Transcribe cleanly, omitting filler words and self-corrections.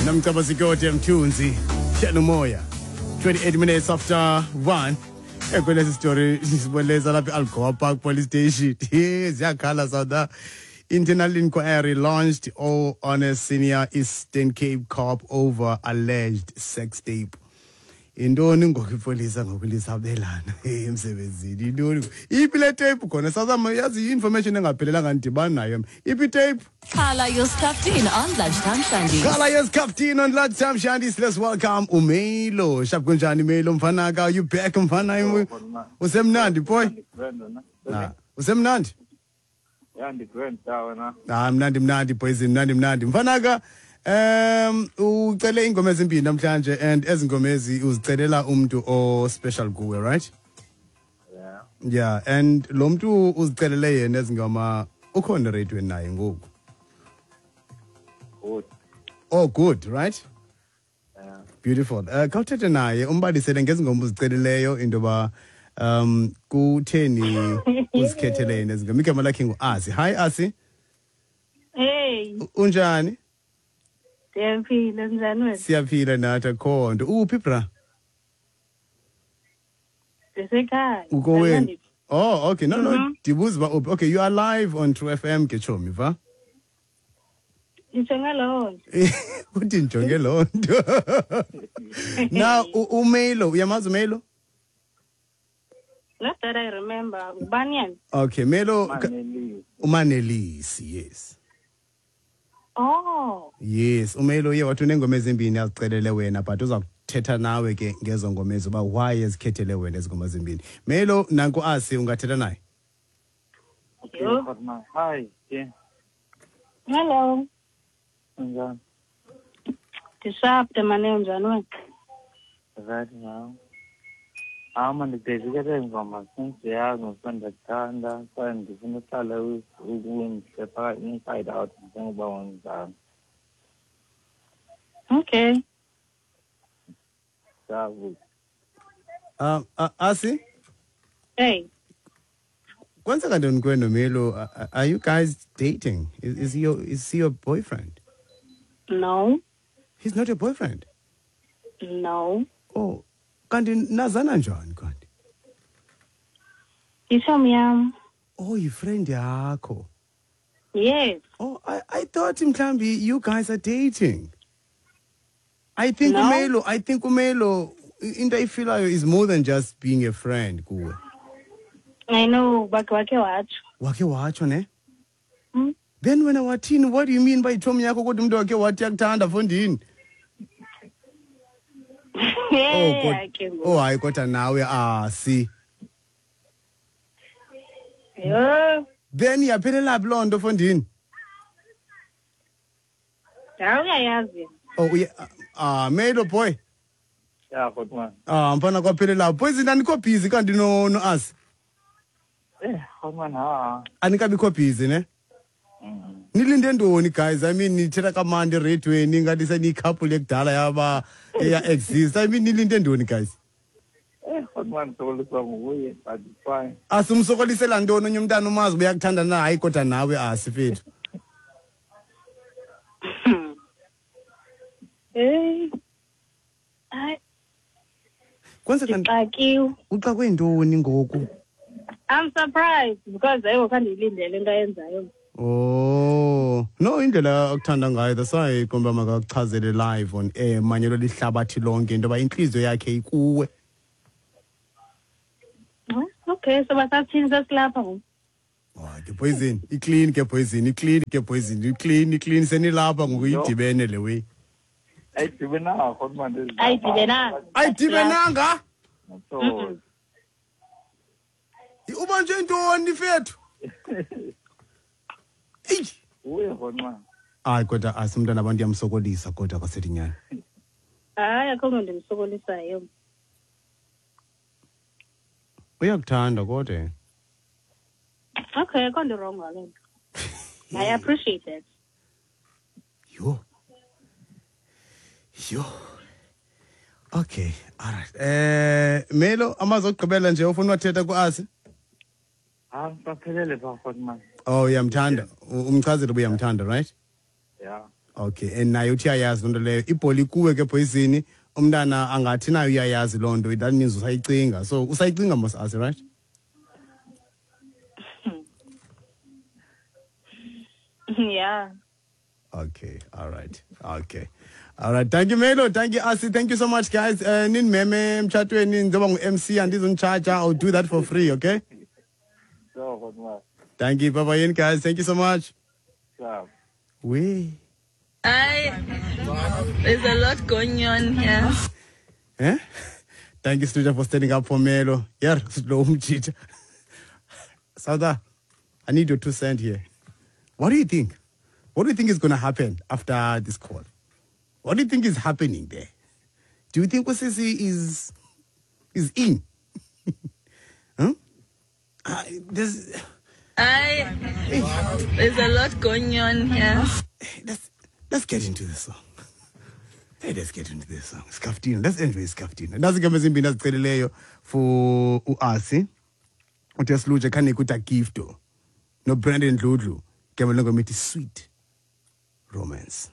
Nomcebo Zikode Mthunzi Tshelumoya, 28 minutes after 1. Ekwelesi story siboneleza lapha e-Algoa Park Police Station. Ziyakhala South. Internal inquiry launched all on a senior Eastern Cape cop over alleged sex tape. Yintoni ngoku ipolisa ngoku lisabelana emsebenzini? Yintoni iphi le tape khona? Sazama yazi i-information engaphelelanga ndidibani nayo. Iphi itape? Khala your Skhaftin on Lunchtime Shandies. Khala your Skhaftin on Lunchtime Shandies. Let's welcome uMelo. Shap, kunjani Melo mfanaka? You back mfana? Usemnandi boy? Nah. Usemnandi? Yeah, ndigrand ta wena. Ah, mnandi mnandi boys, mnandi mnandi. Mfanaka, ucele ingoma ezimbini namhlanje and ezi ngoma ezi uzicelela umuntu o special kuwe, right? Yeah. Yeah, and lo muntu uzicelele yena ezi ngoma ukhona radio naye ngoku. Good. Oh, good, right? Yeah. Beautiful. Khawuthethe naye umbalisele ngezi ngoma uziceleleyo into yoba kutheni uzikhethele yena ezi ngoma. Igama lakhe ngu-Asi. Hi Asi. Hey. Unjani? Ndiyaphila, njani wena? Siyaphila nathi, akho nto. Uphi bra? Ndisekhaya. Ukowenu? Oh, okay. No, ndibuza uba uphi. Okay, you are live on True FM ke chomi, va? Ndijonge loo nto. Uthi ndijonge loo nto. Now, uMelo, uyamazi uMelo? Not that I remember. Ngubani yena? Okay, Melo. Manelisi. Umanelisi, yes. Oh. Yes, uMelo uye wathi uneengoma ezimbini azicelele wena, but uza kuthetha nawe ke ngezo ngoma ezo uba why ezikhethele wena ezi ngoma zimbini. Melo, nanku Asi, ungathetha naye. Okay, Fatma. Hi. Yeah. Hello. Unjani? Ndisharp mane, unjani wena? Right now. Ama ndibhekile ngoma since yazi ngokuba ndiyakuthanda kwaye ndifuna uhlale ukundihle phakathi inside out njengoba wenzani. Okay. Sabu. Asi? Hey. Kwenzeka ntoni kuwe noMelo? Are you guys dating? Is he your boyfriend? No. He's not your boyfriend? No. Oh, kanti nazana njani kanti? Yitshomi yam. Oh, yifriend yakho. Yes. Oh, I thought mhlambi you guys are dating. I think No. uMelo, I think uMelo into ayifilayo is more than just being a friend kuwe. I know, bakhe wakhe watsho. Wakhe watsho ne? Mm. Then wena wathini? What do you mean by itshomi yakho kodwa umuntu wakhe wathi yakuthanda fondini? Oh, Yeah, ke ngoku. oh hayi kodwa nawe Asi. Yho. Then yaphelela phi loo nto fondini? Hayi uyayazi. Oh, uye Melo boy. Yeah, Fatma. Ah, mfana kwaphelela. Poison anikho busy kanti no Asi. Eh, Fatma ha. Anikabikho busy ne? Nilinde ntoni guys? I mean nithetha kamandi eradweni ngathi seniyi-couple ekudala yaba eya exist. I mean nilinde ntoni guys? Eh, Fatma ndisokoliswa nguye but it's fine. Asimsokolisela ntoni onye umntana umazi uba uyakuthanda na? Hayi kodwa nawe Asi fethu. Hey. Hayi. Kwenzeka Ndixakiwe. Uxakwe ntoni ngoku? I'm surprised because ayiwo khandiyilindele into ayenzayo. Oh, no indlela akuthanda ngayo that's why iqomba makakuchazele live on air manyelo lihlabathi lonke into yoba intliziyo yakhe ikuwe. Okay, so basathini sesilapha ngoku? Oh, ke poison, iclean ke poison, iclean ke poison, iclean, iclean senilapha ngoku idibene le way. Ayidibenanga Fatma. Ayidibenanga. Ayidibenanga? So Ubanjwe ntoni fethu? Eyi. Uye Fatma. Hayi kodwa asimntana abantu yamsokolisa kodwa kwasedinyana. Hayi akho nto ndimsokolisayo. Uyakuthanda kodwa. Okay, akho nto wrong ngaloo nto. I appreciate that. Yho. Yho. Okay, all right. Melo amazwi okugqibela nje ufuna wathetha kuAsi? Ah, baphelele pha Fatma. Oh, uyamthanda. Umchazile uba uyamthanda, right? Yeah. Okay, and naye uthi uyayazi loo nto leyo. Ibholi kuwe ke, poison. Umntana angathi naye uyayazi loo nto. That means usayicinga. So usayicinga mos, Asi, right? Yeah. Okay, all right. Okay. All right. Thank you, Melo. Thank you, Asi. Thank you so much, guys. Ninimeme emtshatweni, njengoba ngu-MC, andizunitshaja. I'll do that for free, okay? Sure, kodwa. Thank you. Bye-bye, guys. Thank you so much. Sure. We. There's a lot going on here. Eh? Thank you, Stuja, for standing up for Melo. Yeah, slow umjita. Sauda, I need your 2 cents here. What do you think? What do you think is going to happen after this call? What do you think is happening there? Do you think usisi is in? Huh? There's, There's a lot going on here. Let's get into this song. Hey, let's get into this song. Skhaftina. Let's enjoy Skhaftina. Nazi igama ezimbini azicelileyo for uAsi. Uthi Siluje khanike uDa Gifto. No Brandon Dludlu. Igama lengoma ithi Sweet Romance.